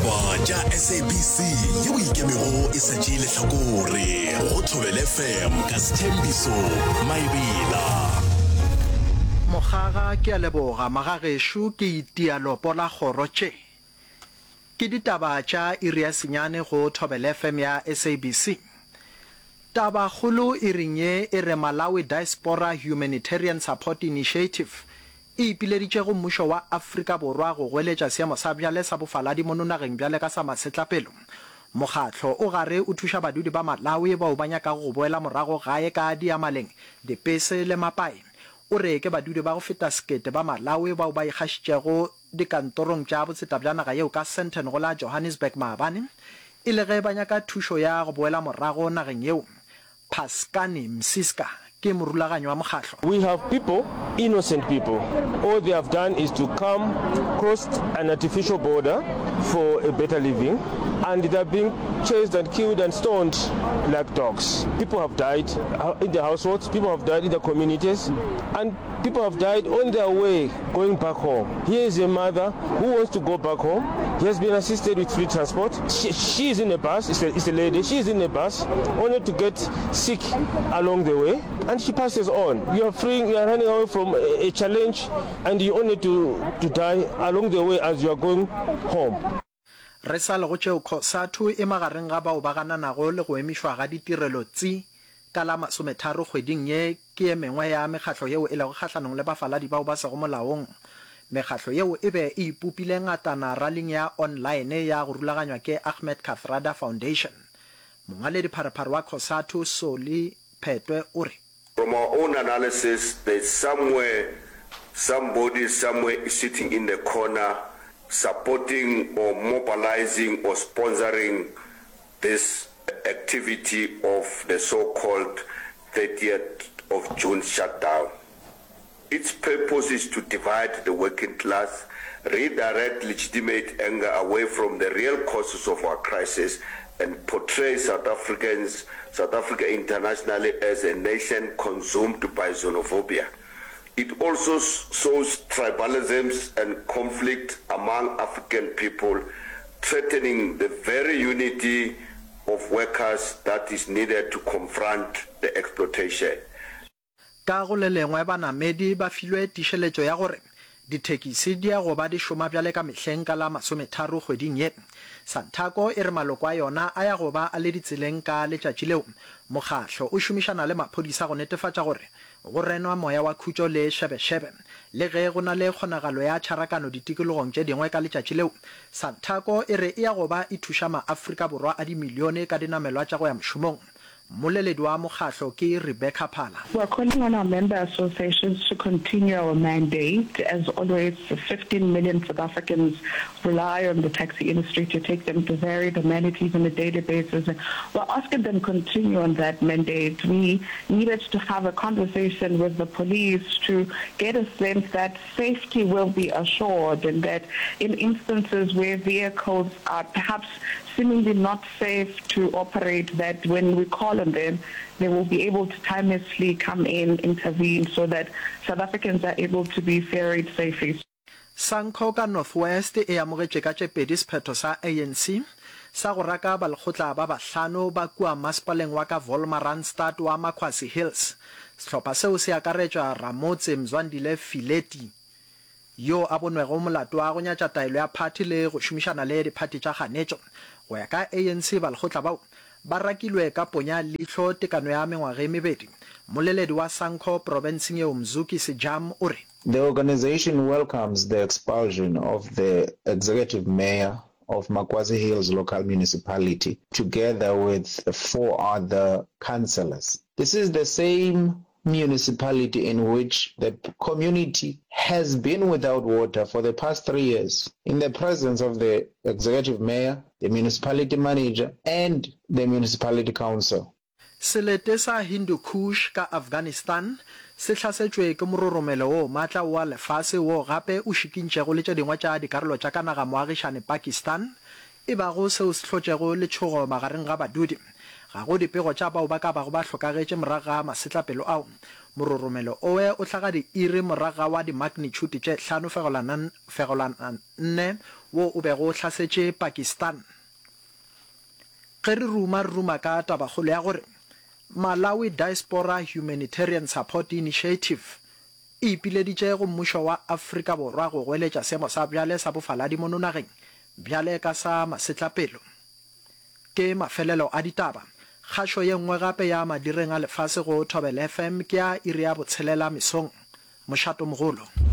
Ditaba tša SABC yeo e ikemego e sa tšee lehlakore go Thobela FM ka Sthembiso Maebela. Mokgaga, Ke a leboga magagešo ke itia lopo la kgoro tše. Ke ditaba tša iri ya senyane go Thobela FM ya SABC. Tabakgolo iring ye e re Malawi Diaspora Humanitarian Support Initiative e ipileditše go mmušo wa Afrika Borwa go goeletša seemo sa bjale sa bofaladi mono nageng bjale ka sa masetlapelo. Mokgatlo o gare o thuša badudi ba Malawi bao ba nyakago go boela morago gae ka diyamaleng, dipese le mapae. O re ke badudi ba go feta sekete ba Malawi bao ba ikgašitšego dikantorong tša botseta bja naga yeo ka Sandton go la Johannesburg maabane e le ge ba nyaka thušo ya go boela morago nageng yeo. Pascani Msiska ke morulaganyi wa mokgahlo. We have people, innocent people, all they have done is to come crossed an artificial border for a better living and they are being chased and killed and stoned like dogs. People have died in the households, people have died in the communities and People have died on their way going back home. Here is a mother who wants to go back home. He has been assisted with free transport. She, she is in a bus, it's a, it's a lady, she is in a bus only to get sick along the way and she passes on. You are freeing, you are running away from a, a challenge and you only to, to die along the way as you are going home. Re sa le go tšeo, Cosatu e magareng ga bao ba gananago le go emišwa ga ditirelo tsi ka la masometharo kgweding ye ke ye mengwe ya mekgatlo yeo e lego kgahlanong le bafaladi bao ba sego molaong. Mekgatlo yeo e be e ipopile ngatana raling ya online ya go rulaganywa ke Ahmed Kathrada Foundation. Mongwaledipharephare wa Cosatu Solly Phetoe o re. From our own analysis, there's somewhere somebody somewhere is sitting in the corner supporting or mobilizing or sponsoring this activity of the so-called 30th of June shutdown. Its purpose is to divide the working class, redirect legitimate anger away from the real causes of our crisis and portray South Africans, South Africa internationally as a nation consumed by xenophobia. It also sows tribalisms and conflict among African people, threatening the very unity of workers that is needed to confront the exploitation. Ka go le lengwe banamedi ba filwe tišeletšo ya gore dithekisi di ya go ba di šoma bjale ka mehleng ka la masometharo kgweding ye. Santaco e re maloko a yona a ya go ba a le ditseleng ka letšatši leo. Mokgahlo o šomišana le maphodisa go netefatša gore go renwa moya wa khutšo le šebešebe. Le ge go na le kgonagalo ya tšharakano ditikologong tše dingwe ka letšatši leo, Santaco e re e ya go ba e thuša maAfrika Borwa a dimilione ka dinamelwa tša go ya mošomong. Mmoleledi wa mokgahlo ke Rebecca Phala. We are calling on our member associations to continue our mandate. As always, 15 million South Africans rely on the taxi industry to take them to varied amenities on a daily basis. We're asking them continue on that mandate. We needed to have a conversation with the police to get a sense that safety will be assured and that in instances where vehicles are perhaps seemingly not safe to operate that when we call on them, they will be able to timeously come in, intervene, so that South Africans are able to be ferried safely. Sanco ka North West e amogetše ka tše pedi sephetho sa ANC sa go raka balekgotla ba bahlano ba kua masepaleng wa ka Wolmaranstad wa Maquassi Hills. Sehlopha seo se akaretša ramotse Mzwandile Fileti, yo a bonwego molato wa go nyatša taelo ya phathi le go šomišana le diphathi tša kganetšo. Go ya ka ANC, balekgotla bao ba rakilwe ka ponya leihlo tekano ya mengwaga e mebedi. Mmoleledi wa SANCO profenseng yeo Mzukisi Jam o re. The organisation welcomes the expulsion of the executive mayor of Makwasi Hills Local Municipality together with four other councillors. This is the same municipality in which the community has been without water for the past three years in the presence of the executive mayor, the municipality manager and the municipality council. Selete sa Hindu Kush ka Afghanistan se hlasetšwe ke mororomelo o matla oa lefase wo gape o šikintšego le tše dingwe tša dikarolo tša ka naga moagišane Pakistan, e bago seo se hlotšego letšhogo magareng ga badudi. Ga go dipego tša bao ba ka bago ba hlokagetše morago ga masetlapelo ao. Mororomelo owe o hlaga diiri morago ga wa dimagnitšhuti tše 5.4 wo o bego o hlasetše Pakistan. Ge re ruma, re ruma ka tabakgolo ya gore Malawi Diaspora Humanitarian Support Initiative e ipileditše go mmušo wa Afrika Borwa go goeletša seemo sa bjale sa bofaladi mono nageng bjale ka sa masetlapelo. Ke mafelelo a ditaba. Kgašo ye nngwe gape ya madireng a lefase go Thobela FM ke ya iri ya botshelela mesong. Mošatomogolo.